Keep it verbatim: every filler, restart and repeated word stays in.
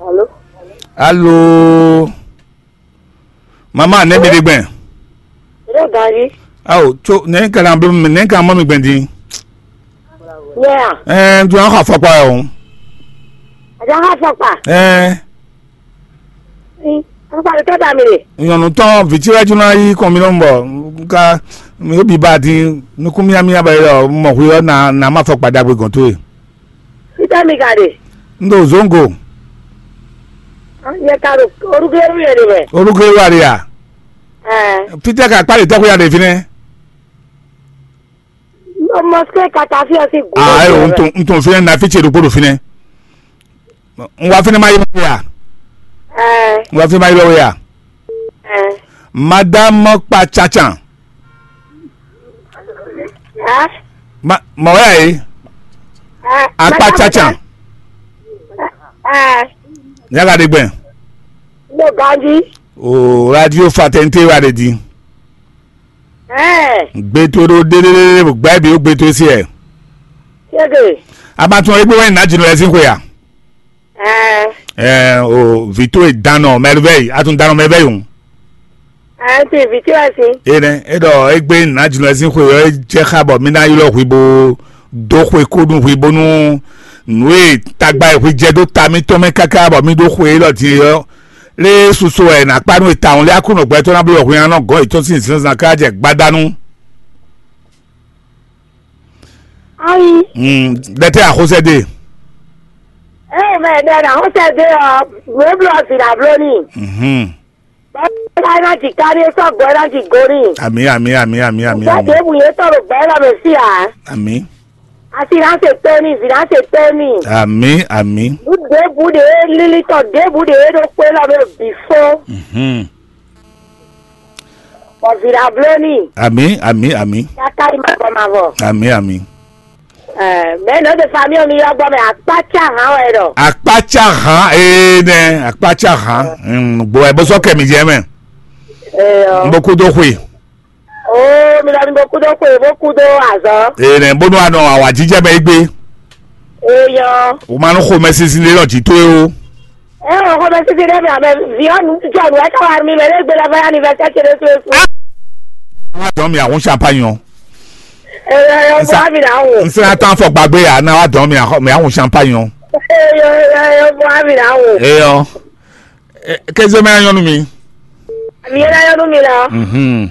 Alo. Alo. Mama, ne mi ɖe gbɛn. Ɖo gari. Awo, tso ne ka na blo ne ka mɔ mi gbɛn din. Nyɛ a? Ɛɛ, n tún xɔ afɔkpa yɛ o. Àjà xɔ afɔkpa. Ɛɛ. Afɔkpa ɖe tɔ́ da mi ɖe. Nyɔnu tɔn viti wɛ juna yi kɔn mi nɔ bɔ nka mi yóò bi ba din nukún miamia bɛ yɔ mɔ hu yɔ na na ma fɔkpa dagbe gɔn to ye. Fítɛ́ mi ka ɖe? N ɖo Zongo. Nyɛ ka ɖo orúkúlérú yɛ ɖe mɛ. Orúkúlérú a ɖe ya? Ɛɛ. Fítɛ́ ka kpali tɛ́ xwé ya ɖe fínɛ́? Ɖo mɔsikɛ kata fí ɔ sí gǔ. Ah, ayo, n tun n tun fínɛ́ na fí ce ɖokpó ɖo fínɛ́. N wá fínɛ́ ma yi lɔ wé ya? Ɛɛ. N wá fínɛ́ ma yi lɔ wé ya? Ɛɛ. Madame Kpacatsan. Ɛɛ. Ma mɔ wɛ yi. Ɛɛ. Akpacatsan. Ɛɛ. Yaga ɖe gbɛn. Mo ganji. O radio Fraternité wa ɖe di. Ɛɛ. Gbe to ɖo ɖeɖeɖe gbɛ bi o gbe to si ɛ. Sege. A ma tún egbe wɛ na jinu ɛsin xwe ya. Ɛɛ. Ɛɛ, o vito e dan nɔ mɛluvɛ yi, a tún dan nɔ mɛluvɛ yi o. Ɛɛ, ti vito ɛsin. E nɛ e ɖɔ egbe na jinu ɛsin xwe yɔ e jɛ xa bɔ mi na ylɔ hwi bo do xwe ko nu hwi bónú nǔ e tagba e hwi jɛ dó ta mitɔn mɛ káká bɔ mi ɖó xwe élɔ́ din é ɔ́, lé susu wɛ è nǎ kpá nú e tawun lé Aklúnɔ gbɛtɔ́ ná bló wɛ hwi ná nɔ gɔ́n yětɔn sín zǐnzán ká jɛ gbada nú. Ayi. Ɖɛtɛ àxósɛ dé. Eye mɛ ɖɛ nǎ xósɛ dé ɔ́, nǔ e bló ɔ́, vǐ ná bló n'i. Mhm. Bɔ é ná ji ká ní é sɔ́ gbɔ é ná ji go n'i. Àmì, àmì, àmì, àmì, àmì, Gbɛ́ àmì. Ɖěbǔ yě tɔn ɖo gbɛ̌ lɔ mɛ fí ǎ. Àmì. Asi ná se tɛ́ n'i, vǐ ná se tɛ́ n'i. Àmì, àmì. Nǔ ɖěbǔ ɖě lilitɔ ɖěbǔ ɖě ɖo xwé lɔ mɛ bǐ fó. Mhm. Bɔ vǐ ná bló n'i. Àmì, àmì, àmì. Káká yi mavɔ mavɔ. Àmì, àmì. Ɛɛ, mɛ nɔ de fami mi yɔ gbɔ mɛ akpácá hàn wɛ ɖɔ. Akpácá hàn ee nɛ akpácá hàn. Gbɔ ɛ bó sɔ kɛ mi jɛ mɛ. Eyɔ. N bó kú dó xwe. Oo, mi lɔ ni bó kú dó xwe bó kú dó azɔ. Ee nɛ bónú anɔ awǎjijɛ mɛ é gbé. Eyɔ. O ma nú xomɛ sísí lé lɔ jǐ tó é o. Ɛ ɔ xɔ bɛ sisi ɖe mi amɛ vi ɔ nu jɔ nu ɛtɔ wa mi mɛ ɖe gbe lɛ fɛ anniversaire ce ɖe su esu. Wá dɔn mi ahun champagne ɔ. Ɛ ɛ ɛ Nsa- bɔ mi na wo. N sera tán fɔ gbàgbé yà náà wá dɔn mi ahun mi ahun champagne ɔ. Ɛ ɛ ɛ bɔ mi na wo. Eyɔ. Kézé mɛ nyɔnu mi. Mi yɛ na yɔnu mi la. Mhm.